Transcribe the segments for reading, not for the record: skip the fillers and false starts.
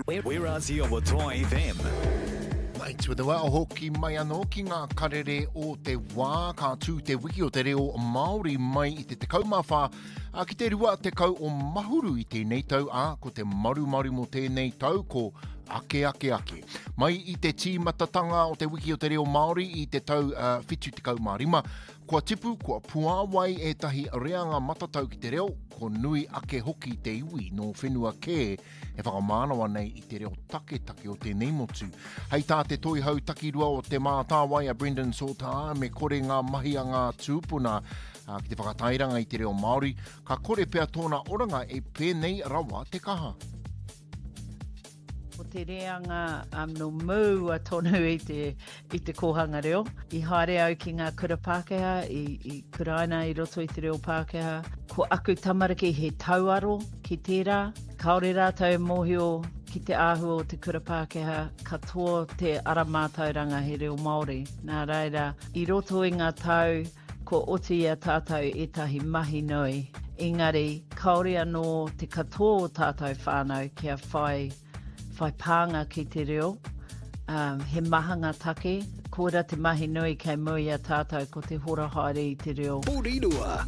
We're Aotearoa FM. Right, with the wā hoki mai anō ki ngā karere o te wā, ka tū te wiki o te reo Māori mai i te 14 a ki te 20 o Mahuru i tēnei tau, ā, ko te marumaru mō tēnei tau ko Ake Ake Ake. Mai i te tīmatatanga o te wiki o te reo Māori i te tau uh, 75, Kua tipu, kua puāwai ētahi reanga matatau ki te reo, ko nui ake hoki te iwi nō whenua kē e whakamānawa nei i te reo taketake o tēnei motu. Hei tā te toihau takirua o Te Mātāwai a Brendan Salter, me kore ngā mahi a ngā tūpuna ki te whakatairanga i te reo Māori, ka kore pea tōna oranga e pēnei rawa te kaha. Ko te reanga um, no mua tonu i te, i te kōhanga reo. I haere au ki ngā kura Pākehā, i, i kuraina i roto i te reo Pākehā. Ko aku tamariki he tauaro ki tērā. Kāore rātou e mōhio ki te āhua o te kura Pākehā, katoa te ara mātauranga he reo Māori. Nā reira, i roto i ngā tau, Kua oti i a tātou ētahi mahi nui, engari kāore anō te katoa o tātou whānau kia whai, whai pānga ki te reo. Um, he maha ngā take, koira te mahi nui kei mua i a tātou ko te hora haere i te reo. Porirua.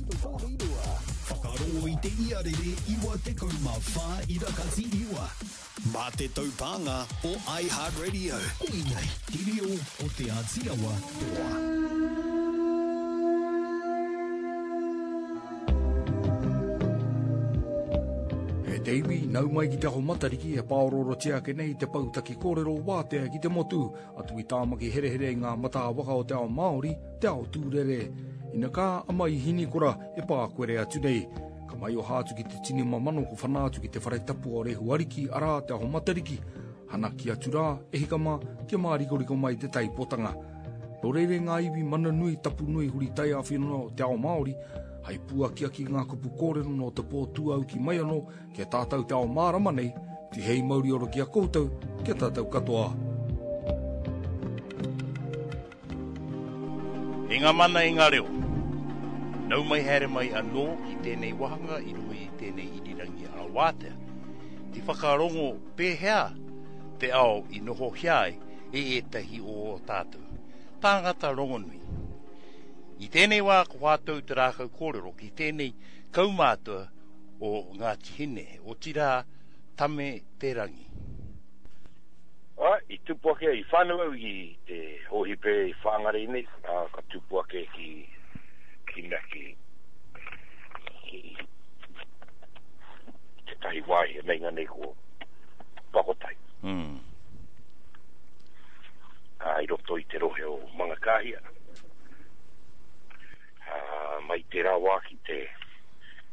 Whakarongo i te iarere 94 irakati iwa. Mā te taupānga o iHeartRadio. Koinei te reo o Te Āti Awa toa. E te iwi, nau mai ki Te Aho Matariki e pāoroorotia ake nei te pou taki kōrero wātea ki te motu, atu i Tāmaki herehere i ngā matā waka o te ao Māori, te ao tūrere. Ina kā a Maihinikora e pākuere atu nei. Ka maioha atu ki te tini mamano ko whana atu ki te whare tapu o Rehu Ariki, arā, Te Aho Matariki. Hanaki atu rā, e hika mā, kia mārikoriko mai te taipotanga. Nō reira e ngā iwi mana nui, tapu nui, huri taiāwhina o te ao Māori, hai pūakiaki ngā kupu kōrero nō te pō tūauki mai anō ki a tātou te ao mārama nei, tihei mauri ora ki a koutou, ki a tātou katoa. I ngā mana i ngā reo. Nau mai haere mai anō ki tēnei wāhanga i runga i tēnei irirangi arawātea. I whakarongo pēhea te ao i nohohia ai e ētahi o ō tātou tāngata rongonui. I tēnei wā ko whātou te rākau kōrero ki tēnei kaumātua o Ngāti Hine, otirā Tame Te Rangi. Ā, i tupu ake, i whānau au i te hōhipera i Whāngarei nei, ā, ka tupu ake ki, ki mea, ki, ki tētahi wāhi e meinga nei ko Pakotai. Mm. Ā, i roto i te rohe o Mangakāhia. Ā, mai tērā wā ki te,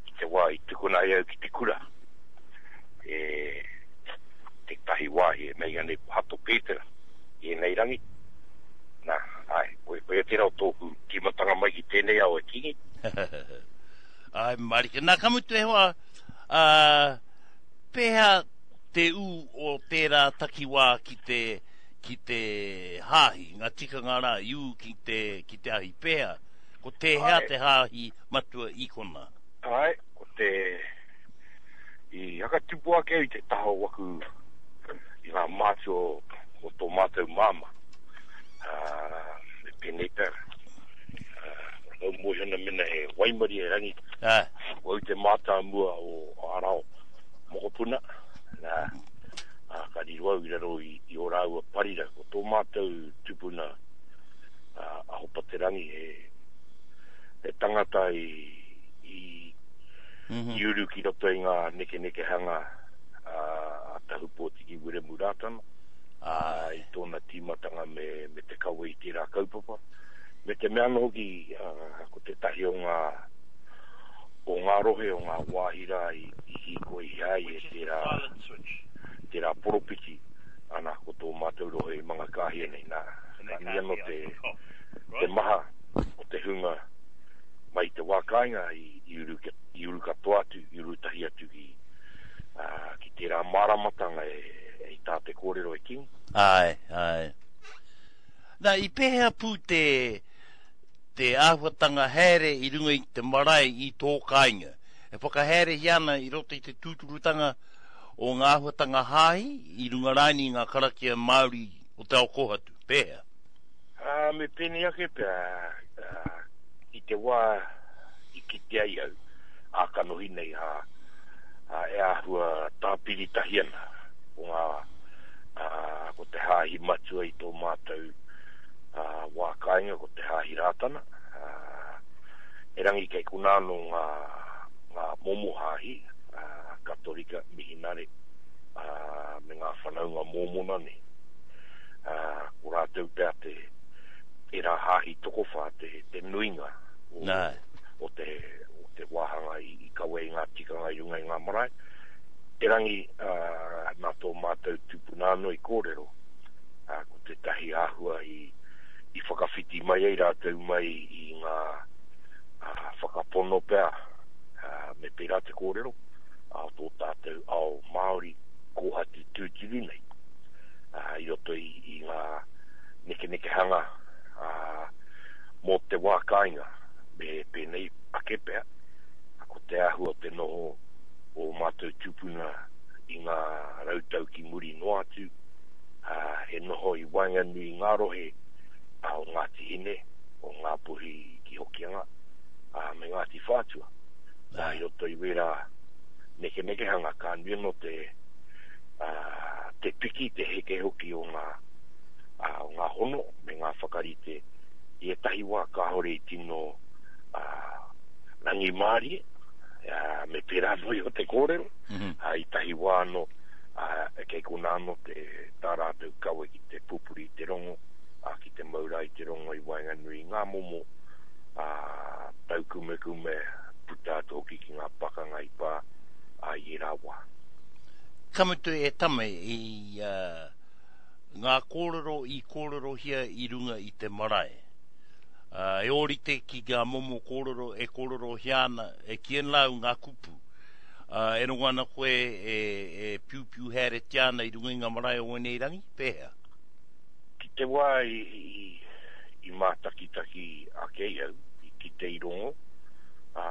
ki te wā i tukuna ai au ki te kura, e, tētahi wāhi e meinga nei ko Hato Pētera i ēnei rangi. Nā, āe, koia tērā o tōku tīmatanga mai ki tēnei ao e Kingi. Āe, mārika. Nā, ka mutu e hoa, ā, pēhea te ū o tērā takiwā ki te, ki te hāhi, ngā tikanga rā i ū ki te, ki te ahi, pēhea? Ko tēhea te hāhi matua i konā? Āe, ko te, I whakatupu ake au i te taha o waku, i ngā mātua o tō mātou māmā. Ā, me pēnei pea, ā, au mōhio ana mena he waimarie rangi. Ā. Ko au te mātāmua o Arao mokopuna, nā, ā, ka riro au i raro i, i ō rāua parira. Ko tō mātou tupuna, ā, a Hopaterangi, he, he tangata i, i i uru ki roto i ngā nekenekehanga a Tahupōtiki Wiremu Rātana i tōna tīmatanga me, me te kawe i tērā kaupapa. Me te mea anō hoki, ko tētahi o ngā, o ngā rohe, o ngā wāhi rā i, i hīkoihia ai e tērā, tērā poropiti, ana, ko tō mātou rohe i Mangakāhia nei, nā, ka nui anō te, te maha o te hunga mai i te wā kāinga i, i uru, i uru katoa atu, i uru tahi atu ki, ā, ki tērā māramatanga e, e i tā te kōrero e King. Āe, āe. Nā, i pēhea pū te, te āhuatanga haere i runga i te marae i tō kāinga? E whakahaerehia ana i roto i te tūturutanga o ngā āhuatanga hāhi i runga rānei i ngā karakia Māori o te ao kōhatu? Pēhea? Ā, me pēnei ake pea, ā, i te wā i kite ai au, ā-kanohi nei, ā, ā, e āhua tāpiri tahi ana ko ngā, ā, ko te hāhi matua i tō mātou, ā, wā kāinga ko te Hāhi Rātana, ā, erangi kei konā anō ngā, ngā momo hāhi, ā, Katorika, Mihinare, ā, me ngā whanaunga Mōmona nei. Ā, ko rātou pea te, ērā hāhi tokowhā te, te nuinga o, Nā. o te, o te wāhanga i, i kawe i ngā tikanga i runga i ngā marae. Erangi, ā, nā tō mātou tupuna anō i kōrero, ā, ko tētahi āhua i, i whakawhiti mai ai rātou mai i ngā ā, whakapono pea, ā, me pērā te kōrero, ā, o tō tātou ao Māori kōhatu tūturu nei, ā, i roto i, i ngā nekenekehanga, ā, mō te wā kāinga, me pēnei ake pea, ko te āhua o te noho o ō mātou tūpuna i ngā rautau ki muri noa atu, ā, he noho i waenganui i ngā rohe o Ngāti Hine, o Ngāpuhi ki Hokianga, ā, me Ngāti Whātua. Nā, i roto i wērā nekenekehanga, ka nui anō te, ā, te piki, te heke hoki o ngā, ā, o ngā hono me ngā whakarite i ētahi wā kāore i tino, ā, rangimārie, ā, me pērā anō iho te kōrero, ā, i tahi wā anō, ā, kei konā anō te, tā rātou kawe ki te pupuri i te rongo, ā, ki te mau rā i te rongo i waenganui i ngā momo, ā, taukumekume, puta atu hoki ki ngā pakanga i pā, ā, i ērā wā. Ka mutu e Tame i, ā, ngā kōrero i kōrerohia i runga i te marae. Ā, e ōrite ki ngā momo kōrero e kōrerohia ana e Kien Lau ngā kupu. Ā, e rongo ana koe e, e piupiu haeretia ana i runga i ngā marae o ēnei rangi? Pēhea? Ki te wā i, i, i mātakitaki ake ai au, i kite i rongo, ā,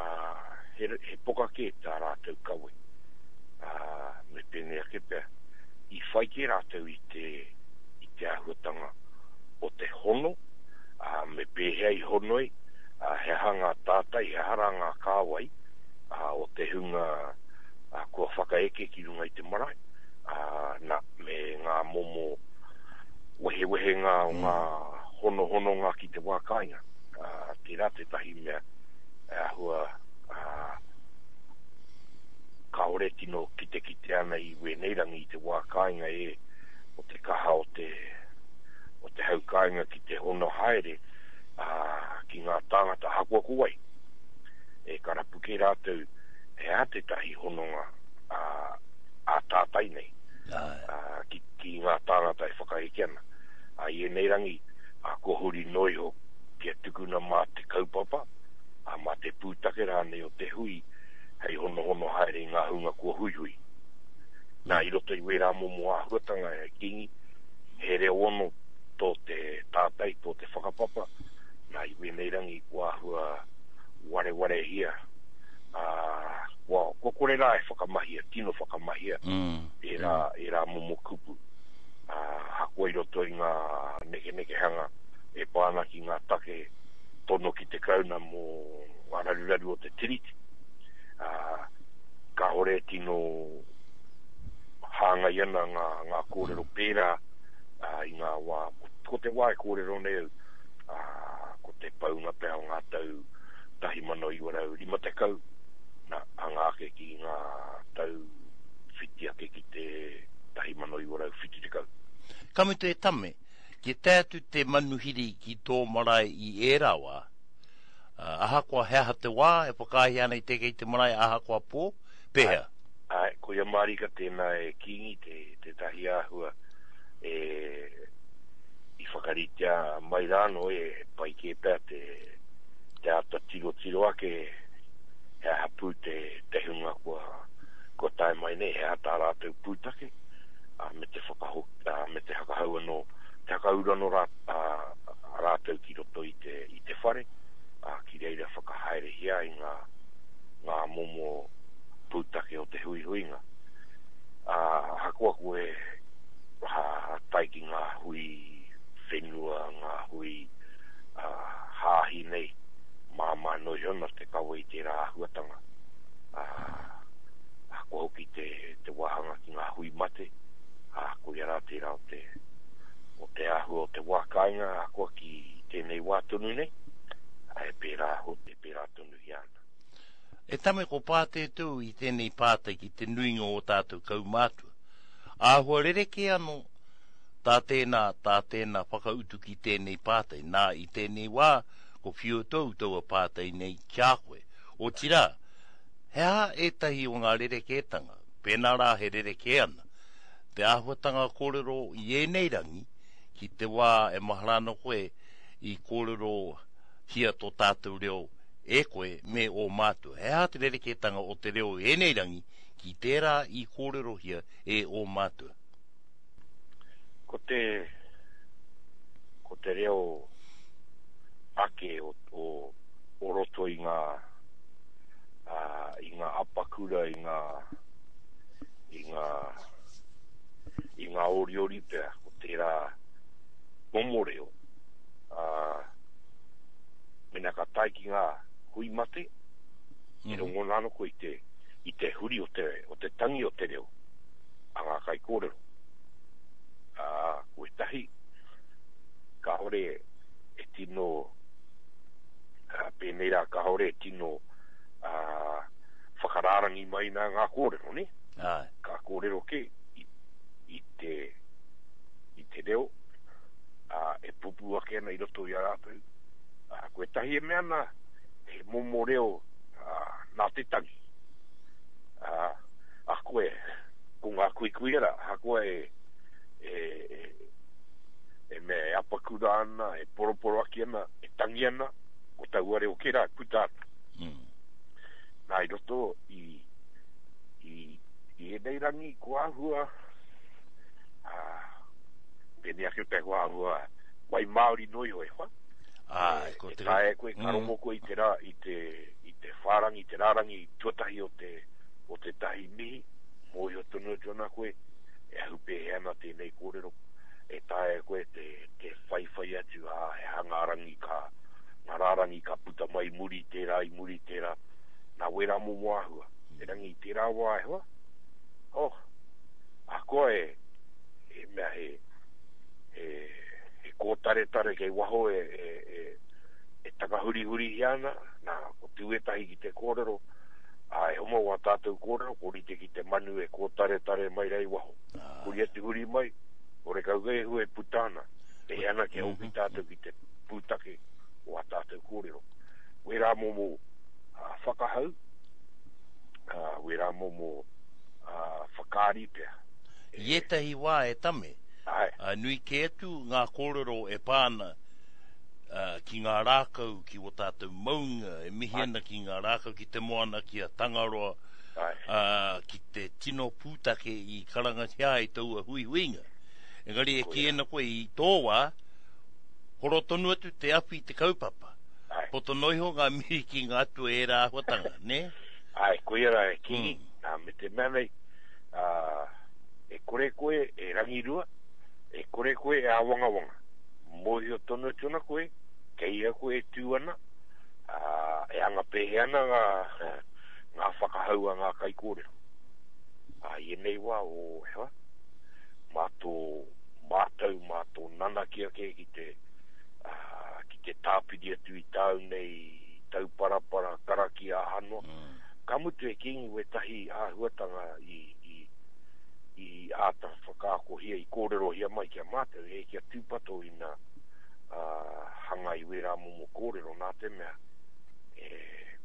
he, he poka kē tā rātou kawe. Ā, me pēnei ake pea, i whai kē rātou i te, i te āhuatanga o te hono, ā, me pēhea i hono ai, ā, he aha ngā tātai, he aha rā ngā kāwai, ā, o te hunga kua whakaeke ki runga i te marae, ā, nā, me ngā momo wehewehenga o ngā honohononga ki te wā kāinga. Ā, tērā tētahi mea e āhua, ā, kāore tino kitekite ana i wēnei rangi i te wā kāinga e, o te kaha o te, o te hau kāinga ki te hono haere, ā, ki ngā tāngata ahakoa ko wai. E ka rapu kē rātou he aha tētahi hononga ā-tātai nei ki, ki ngā tāngata e whakaheke ana. Ā, i ēnei rangi, ā, kua huri noa iho kia tukuna mā te kaupapa, ā, mā te pūtake rānei o te hui hei honohono haere i ngā hunga kua huihui. Nā, i roto i wērā momo āhuatanga e Kīngi, he reo ono tō te tātai, tō te whakapapa, nā, i wēnei rangi kua āhua warewarehia, ā, kua, kua kore rā e whakamahia, tino whakamahia ērā, ērā momo kupu. Ā, ahakoa i roto i ngā nekenekehanga e pā ana ki ngā take tono ki te Karauna mō ngā raruraru o te Tiriti, ā, kāore e tino hāngai ana ngā, ngā kōrero pērā, ā, i ngā wā, ko te wā e kōrero nei au, ā, ko te paunga pea o ngā tau 1950, nā, anga ake ki ngā tau whiti ake ki te 1970. Ka mutu e Tame, kia tae atu te manuhiri ki tō marae i ērā wā, ahakoa he aha te wā e whakaaehia ana i te eke i te marae ahakoa pō, pēhea? Āe, koia mārika tēnā e Kīngi te, tētahi āhua e i whakaritea mai rā anō e pai kē pea te, te āta tirotiro ake he aha pū te, te hunga kua, kua tae mai nei, he aha tā rātou pūtake, ā, me te whakaho, ā, me te hakahau anō, te hakauru anō rā, ā, rātou ki roto i te, i te whare, ā, ki reira whakahaerehia ai ngā, ngā momo pūtake o te huihuinga. Ā. tame ko Pātētou i tēnei pātai ki te nuinga o ō tātou kaumātua. Āhua rerekē anō tā tēnā, tā tēnā whakautu ki tēnei pātai. Nā, i tēnei wā, ko whiu tou taua pātai nei ki a koe. Otirā, he aha ētahi o ngā rerekētanga, pēnā rā he rerekē ana, te āhuatanga kōrero i ēnei rangi ki te wā e mahara ana koe i kōrerohia tō tātou reo e koe me ō mātua. He aha te rerekētanga o te reo i ēnei rangi ki tērā i kōrerohia e ō mātua? Ko te, ko te reo ake o, o, o roto i ngā, ā, i ngā apakura, i ngā, i ngā, i ngā oriori pea, ko tērā momo reo, ā, mena ka tae ki ngā hui mate, e rongona ana koe i te, i te huri o te, o te tangi o te reo a ngā kaikōrero. Ā, ko ētahi, kāore e tino, ā, pēnei rā, kāore e tino, ā, whakarārangi mai nā ngā kōrero, nē? Āe. Ka kōrero kē i, i te, i te reo, ā, e pupū ake ana i roto i a rātou. Ā, ko ētahi e mea ana, he momo reo, ā, nā te tangi. Ā, ahakoa e, ko ngā kuikuia rā, ahakoa e, e, e, e mea e apakura ana, e poroporoaki ana, e tangi ana, ko taua reo kē rā e puta ana. Mm. Nā, i roto i, i, i ēnei rangi, ko āhua, ā, pēnei ake pea ko āhua wai Māori noa iho e hoa. Āe, ko te... E taea koe, ka mm. rongo koe i te rā, i te, i te whārangi, te rārangi tuatahi o te, o te tahi mihi, mōhio tonu atu ana koe, e ahu pēhea ana tēnei kōrero, e taea koe te, te whaiwhai atu, ā, he aha ngā rangi ka, ngā rārangi ka puta mai i muri i tērā, i muri i tērā, nā wērā momo āhua. Erangi i tērā wā e hoa, oh, ahakoa e, he mea he, he, he kōtaretare kei waho e, e, e, e takahurihurihia ana, nā, ko tū ētahi ki te kōrero, ā, e homa wā tātou kōrero, ko rite ki te manu e kōtaretare mai rā i waho. Huri atu huri mai, horekau kei hua e puta ana, e hea ana kia hoki tātou ki te pūtake o ā tātou kōrero. Wērā momo whakahau, wērā momo whakaari pea. I ētahi wā e tame, nui kē atu ngā kōrero e pā ana ki ngā rākau, ki wō tātou maunga, e mihi ana ki ngā rākau, ki te moana, ki a Tangaroa, ki te tino pūtake i karangatia ai taua huihuinga. Engari e kī ana koe i tō wā, horo tonu atu te awhi i te kaupapa. Poto noa iho ngā mihi ki ngā atua i ērā āhuatanga, nē? Āe, koia rā e Kingi, nā, me te mea nei, ā, e kore koe e rangirua, e kore koe e āwangawanga. Mōhio tonu atu ana koe, kei ia koe e tū ana, ā, e anga pēhea ana ngā, ngā whakahau a ngā kaikōrero. Ā, i ēnei wā, o, he aha, mā tō mātau, mā tō nanakia kē ki te, ā, ki te tāpiri atu i tāu nei tauparapara, karakia, aha noa. Mm. Ka mutu e Kīngi wētahi āhuatanga i, i, i āta whakaakohia, i kōrerohia mai ki a mātou, e kia tūpato ina ā, hanga i wērā momo kōrero nā te mea, e,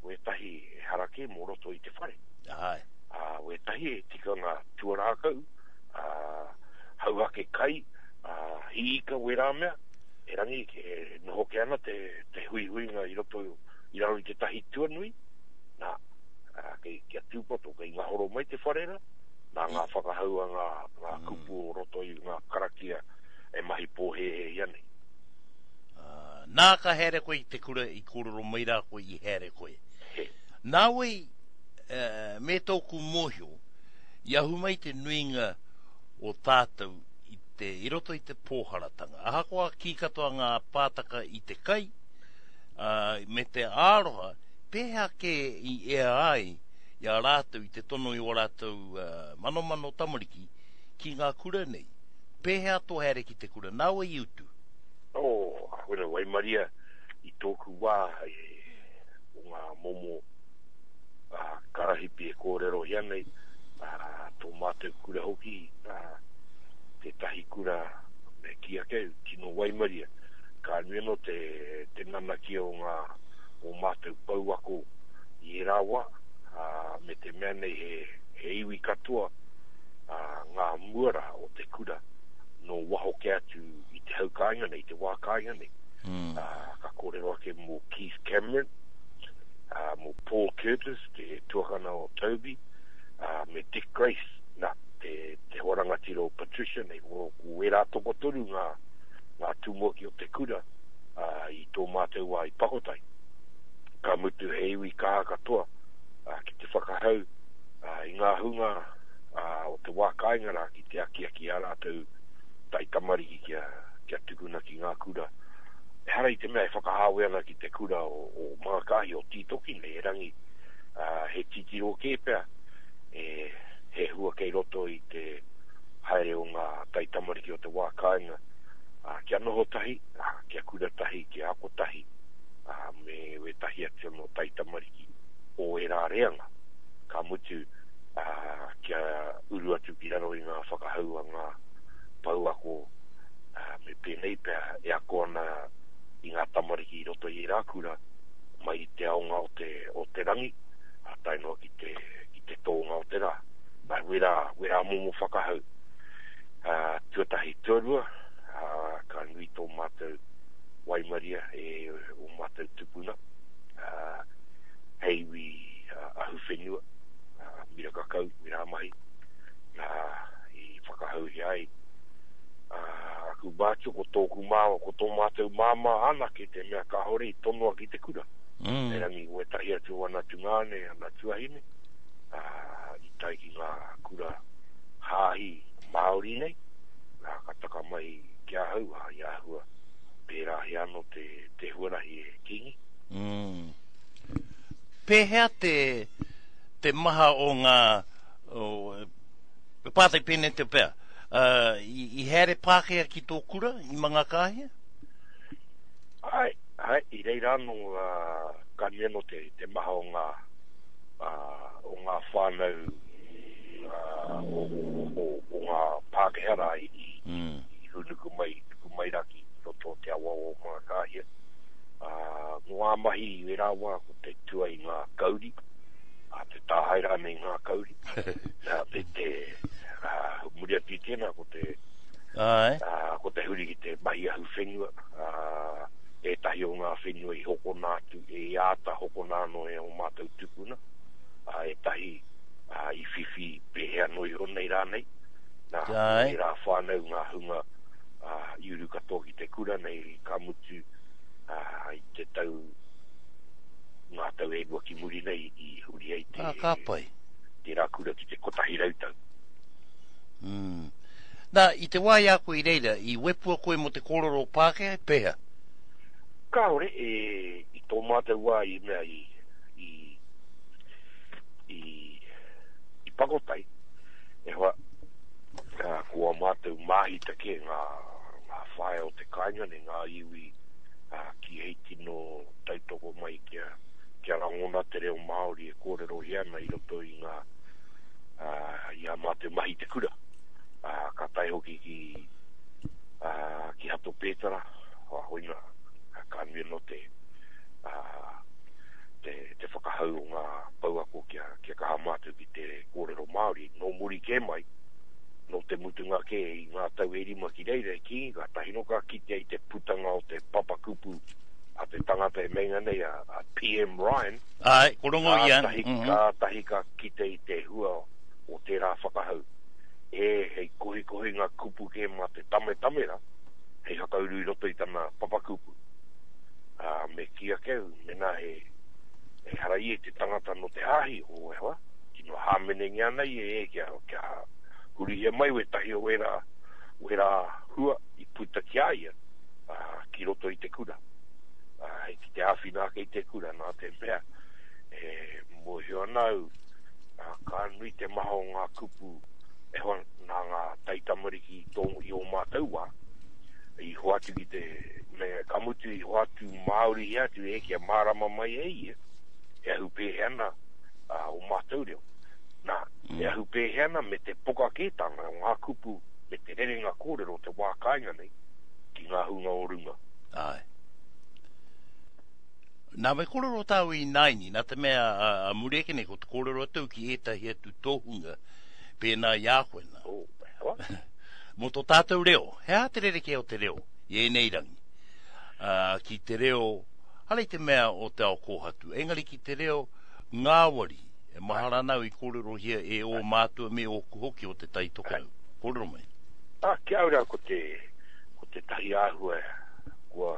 wētahi ehara kē mō roto i te whare. Āe. Ā, wētahi e tikanga tuarākau, ā, hauhake kai, ā, hī ika wērā mea, erangi e noho kē ana te, te huihuinga i roto i raro i tētahi tuanui, nā, ā, kei, kia tūpato, kei ngahoro mai te whare rā, nā ngā whakahau a ngā, ngā mm. kupu o roto i ngā karakia e mahi pōhēhēhia nei. Uh, nā ka haere koe i te kura i kōrero mai rā koe i haere koe. He. Nā wai, uh, me tōku mōhio, i ahu mai te nuinga o tātou i, te, i roto i te pōharatanga. Ahakoa kī katoa ngā pātaka i te kai, ā, me te aroha, pēhea kē i ea ai i a rātou i te tono i ō rātou manomano tamariki ki ngā kura nei? Pēhea tō haere ki te kura? Nā wai i utu? Oh, koina waimaria i tōku wā, o ngā momo, karahipi e kōrerohia nei, tō mātou kura hoki, tētahi kura me kī ake au, tino waimaria. Ka nui anō te, te nanakia o ngā, o mātou pouako i ērā wā, ā, me te mea nei he, he iwi katoa, ā, ngā muara o te kura nō waho kē atu i te hau kāinga nei, i te wā kāinga nei. Mm. Ā, ka kōrero ake mō Keith Cameron, ā, mō Paul Curtis, te tuakana o Toby, ā, me Dick Grace, nā, te, te hoa rangatira o Patricia nei, ko, ko ērā tokotoru ngā, ngā tumuaki o te kura, ā, i tō mātou wā i Pakotai. Ka mutu he iwi kaha katoa, ā, ki te whakahau, ā, i ngā hunga, ā, o te wā kāinga rā ki te akiaki i ā rātou taitamariki kia, kia tukuna ki ngā kura. Ehara i te mea e whakahāwea ana ki te kura o, o Mangakāhia, o Tītoki nei, erangi, ā, he titiro kē pea, e, he hua kei roto i te haere o ngā taitamariki o te wā kāinga, ā, kia noho tahi, ā, kia kura tahi, kia ako tahi, ā, me wētahi atu anō taitamariki o ērā reanga. Ka mutu, ā, kia uru atu ki raro i ngā whakahau a ngā pouako, ā, me pēnei pea e ako ana i ngā tamariki i roto i ērā kura, mai i te aonga o te, o te rangi, ā, tae noa ki te, ki te tōnga o te rā. Nā, wērā, wērā momo whakahau. Ā, tuatahi, tuarua, ā, ka nui tō mātou waimaria e ō mātou tupuna, ā, hei iwi ahuwhenua, ā, miraka kau, mirā mahi, nā, i whakahauhia ai, ā, aku mātua, ko tōku māmā, ko tō mātou māmā anake te mea kāore i tonoa ki te kura. Mm. Erangi wētahi atu o ana tungāne, ana tuahine, ā, i tae ki ngā kura hāhi Māori nei, nā, ka taka mai ki ahau, ā, i āhua pērā he anō te, te huarahi e Kīngi. Mm. Pēhea te, te maha o ngā, o, e pātai pēnei te pea, uh, i, i haere Pākehā ki tō kura i Mangakāhia? Ai, ai, i reira anō, uh, ka nui anō te, te maha o ngā, uh, o ngā whānau uh, o, o, o, o ngā Pākehā rā i, i, mm. i hūnuku mai, tuku mai rā ki roto o te awa o Mangakāhia. Uh, mō ā mahi i wērā wā ko te tua i ngā kauri, a te tāhae rānei ngā kauri. Nā, te, te, uh, muri atu i tēnā ko te, Ai. Uh, ko te huri ki te mahi ahu whenua, uh, ētahi o ngā whenua i hokona atu, i āta hokona anō e ō mātou tupuna, ā, ētahi ā, i whiwhi pēhea noa iho nei rānei. Nā, ko ērā whānau ngā hunga ā, i uru katoa ki te kura nei, ka mutu ā, i te tau, ngā tau e rua ki muri nei i huri ai te, Ā, ka pai. tērā kura ki te 100 tau. Mm. Nā, i te wā i a koe i reira, i wepua koe mō te kōrero Pākehā, pēhea? Kāore, e, i tō mātou wā i mea i, i, i, i Pakotai, e hoa, ka, ko a mātou māhita kē ngā, ngā whaea o te kāinga nei, ngā iwi ā, ki hei tino tautoko mai kia, kia rangona te reo Māori e kōrerohia ana i roto i ngā, ā, i ā mātou mahi i te kura. Ā, ka tae hoki ki, ā, ki Hato Pētara, ā, hoina, ka nui anō te, ā, te, te whakahau o ngā pouako kia, kia kaha mātou ki te kōrero Māori. Nō muri kē mai, nō te mutunga kē i ngā tau e rima ki reira e kī, kātahi nō ka kitea i te putanga o te papakupu a te tangata e meinga nei a, a PM Ryan. Āe, ko rongo ia. Kātahi, mm -hmm. kātahi ka kite i te hua o tērā whakahau. E, hei kohikohi ngā kupu kē mā te tametamera, hei whakauru i roto i tana papakupu. Ā, me kī ake au, mēnā he, ehara ia i te tangata nō te hāhi o Ehoa, tino hāmenengia ana ia e kia, kia hurihia mai wētahi o wērā, wērā hua i puta ki a ia, ā, ki roto i te kura. Ā, hei ki te āwhina ake i te kura, nā te mea, e mōhio ana au, ā, ka nui te maha o ngā kupu Ehoa, nā ngā taitamariki i tō, i ō mātou wā, i hoatu ki te, me, ka mutu i hoatu Māorihia atu e kia mārama mai e ia, e ahu pēhea ana ā, o mātou reo. Nā, e ahu pēhea ana me te poka kētanga o ngā kupu me te rerenga kōrero o te wā kāinga nei ki ngā hunga o runga. Āe. Nā, me kōrero tāu ināianei, nā te mea a muri ake nei ko te kōrero atu ki ētahi atu tohunga pēnā i a koe nā. Oh, he aha? Mō tō tātou reo, he aha te rerekē o te reo i ēnei rangi ā, ki te reo, hara i te mea o te ao kōhatu, engari ki te reo ngāwari, e mahara ana au i kōrerohia e ō mātua me ōku hoki o Te Tai Tokerau. Kōrero mai. Ā, ki a au rā ko te, ko tētahi āhua kua,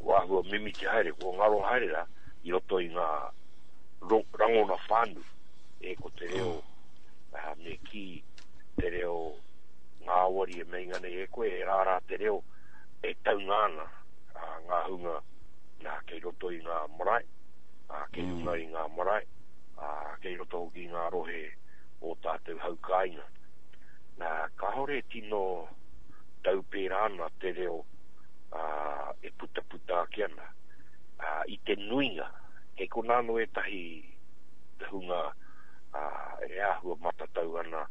kua āhua mimiti haere, kua ngaro haere rā i roto i ngā ro, rangona whānui, e ko te reo, ā, me kī, te reo ngāwari e meinga nei e koe, e rārā te reo e taunga ana ā, ngā hunga nā, kei roto i ngā marae, ā, kei runga i ngā marae, ā, kei roto hoki i ngā rohe o tātou hau kāinga. Nā, kāore e tino tau pērā ana te reo ā, e putaputa ake ana. Ā, i te nuinga, kei konā anō ētahi hunga ā, e āhua matatau ana,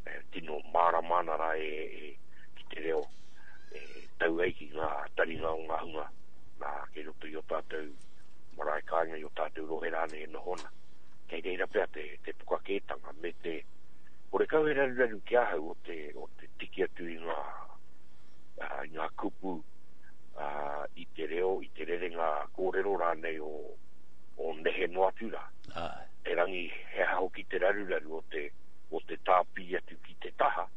e tino mārama ana rā e, e, ki te reo e tau ai ki ngā taringa o ngā hunga nā, kei roto i ō tātou marae kāinga, i ō tātou rohe rānei e noho ana. Kei reira pea te, te pukakētanga me te, horekau he raruraru ki ahau o te, o te tiki atu i ngā, uh, i ngā kupu uh, i te reo, i te rerenga kōrero rānei o, o nehe noa atu rā. Āe. Erangi, he aha hoki te raruraru o te, o te tāpiri atu ki te taha,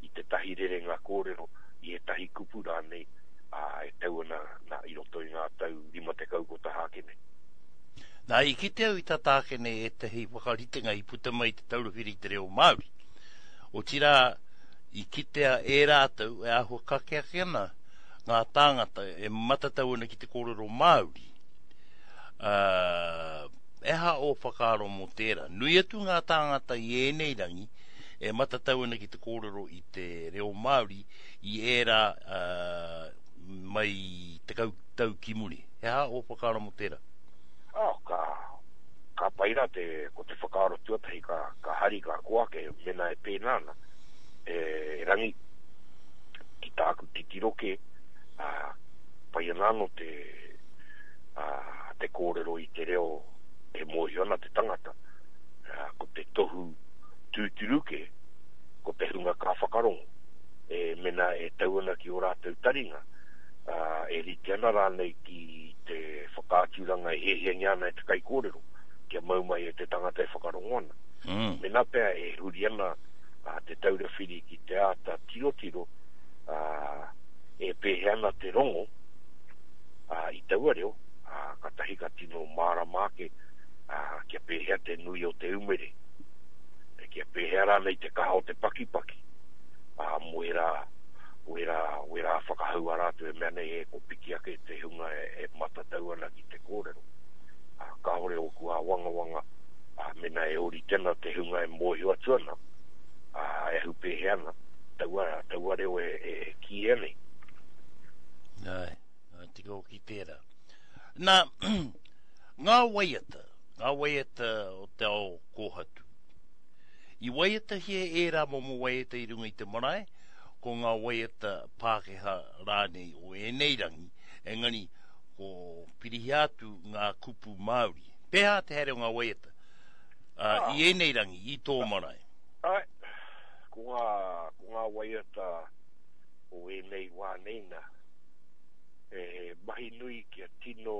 i tētahi rerenga kōrero, i ētahi kupu rānei, ā, e tau ana nā, i roto i ngā tau 50 kua taha ake nei. Nā, i kite au i tata ake nei ētahi whakaritenga i puta mai i Te Taura Whiri i te Reo Māori. Otirā, i kitea e rātou e āhua kake ake ana ngā tāngata e matatau ana ki te kōrero Māori. Ā, e aha ō whakaaro mō tērā? Nui atu ngā tāngata i ēnei rangi e matatau ana ki te kōrero i te reo Māori i ērā mai 10 tau ki muri. He aha ō whakaaro mō tērā? Oh, ka, ka pai rā te, ko te whakaaro tuatahi ka, ka hari, ka koa ake, mēnā e pēnā ana, e, erangi, ki tāku titiro kē, ā, pai ana anō te, ā, te kōrero i te reo e mōhio ana te tangata, ā, ko te tohu tūturu kē, ko te hunga ka whakarongo, e, mēnā e tau ana ki ō rātou taringa, ā, e rite ana rānei ki te whakaaturanga e hiahiangia ana e te kaikōrero, kia mau mai e te tangata e whakarongo ana. Mm. Mēnā pea e huri ana a, Te Taura Whiri ki te āta tirotiro, ā, e pēhea ana te rongo, ā, i taua reo, ā, kātahi ka tino mārama ake, ā, kia pēhea te nui o te umere, kia pēhea rānei te kaha o te pakipaki, ā, mō ērā, wērā, wērā whakahau a rātou e mea nei e ko piki ake te hunga e, e matatau ana ki te kōrero. Ā, kāore ōku āwangawanga, ā, mēnā e ōrite ana te hunga e mōhio atu ana, ā, e ahu pēhea ana, taua, taua reo e, e, e kīia nei. Āe, āe, tika hoki tērā. Nā, ngā waiata, ngā waiata o te ao kōhatu. I waiatahia ērā momo waiata i runga i te marae, ko ngā waiata Pākehā rānei o ēnei rangi, engari ko pirihia atu ngā kupu Māori. Pēhea te haere o ngā waiata uh, i ēnei rangi, i tō marae? Ai, ko ngā, ko ngā waiata o ēnei wā nei nā, he mahi nui kia tino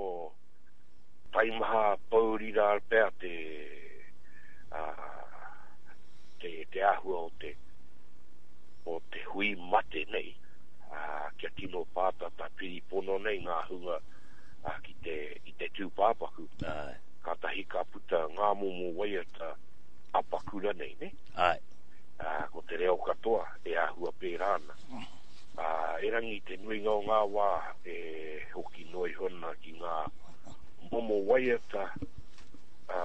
taimaha pōuri rā pea te, ā, te, te āhua o te, o te hui mate nei, ā, kia tino pātata piripono nei ngā hunga ā, ki te, ki te tūpāpaku. Āe. Kātahi ka puta ngā momo waiata apakura nei, nē? Āe. Ā, ko te reo katoa e āhua pērā ana. Ā, erangi te nuinga o ngā wā e hoki noa iho ana ki ngā momo waiata, ā,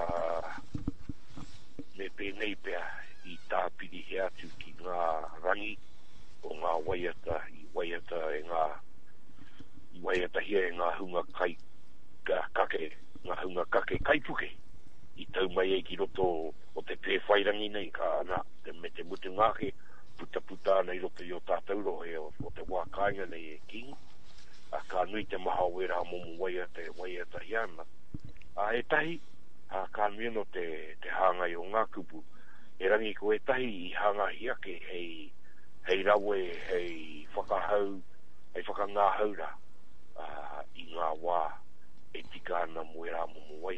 me pēnei pea i tāpirihia atu ki ngā rangi o ngā waiata i waiata e ngā, i waiatahia e ngā hunga kai, kake, ngā hunga kake kaipuke. tau mai ai ki roto o te Pēwhairangi nei, ka, ana, te, me te mutunga ake, putaputa ana i roto i ō tātou rohe o, o te wā kāinga nei e Kīngi. Ā, ka nui te maha o ērā momo waiata e waiatahia ana. Ā, ētahi, ā, ka nui anō te, te hāngai o ngā kupu. Erangi ko ētahi i hangahia ake hei, hei rawe, hei whakahau, hei whakangāhau rā, ā, i ngā wā e tika ana mō ērā momo waiata.